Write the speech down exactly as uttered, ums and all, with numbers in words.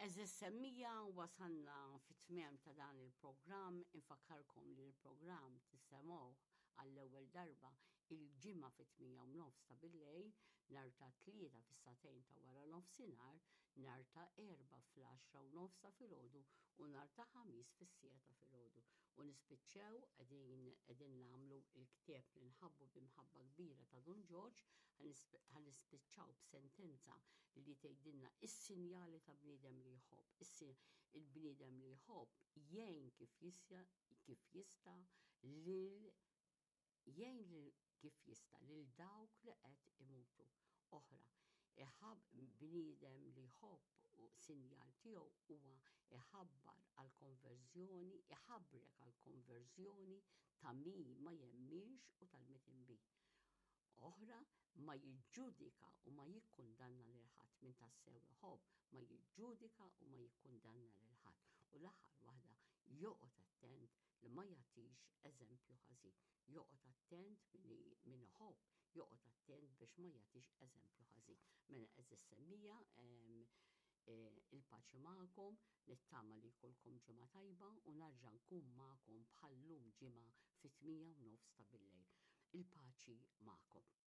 Għeżież semmiegħa, wasalna fit-tmiem ta' dan il-programm. Infakkarkom li l-programm tisimgħuh għall-ewwel darba il-Ġimgħa fit-tmienja u nofs ta' billejl, nhar ta' Tlieta fis-sagħtejn ta' wara nofsinhar, nhar ta' Erbgħa fl-għaxra u nofs ta' filgħodu u nhar ta' Ħamis fis-siegħa ta' filgħodu. U nispiċċew qegħdin qegħdin nagħmlu il-ktieb li nħabbu b'imħabba kbira ta' Dun Ġorġ, ħa nispiċċaw b'sentenza li tgħidilna is-sinjali ta' bniedem li jħobb. Il-bniedem li jħobb jgħin kif jista' kif jista' lil jgħin lil kif jista' lil dawk li qed imutu. Oħra, iħab bniedem li jħobb u sinjal tiegħu huwa iħabbar għal konverżjoni, iħabrek għal konverżjoni ta' min ma jemminx u tal-midinbin. Oħra, ma jiġġudika u ma jikkundanna lil ħadd. Min tassew iħobb ma jiġġudika u ma jikkundanna lil ħadd. U l-aħħar waħda, joqgħod attent li ma jagħtix eżempju ħażin. Joqgħod attent min iħobb, joqgħod attent biex ma jagħtix eżempju ħażin. Mela, għeżież semmiegħa, il-paċi magħkom, nittama li jkollkom ġimgħa tajba u nerġa' nkun magħkom bħal-lum ġimgħa fit-tmienja u nofs ta' billejl. Il-paċi magħkom.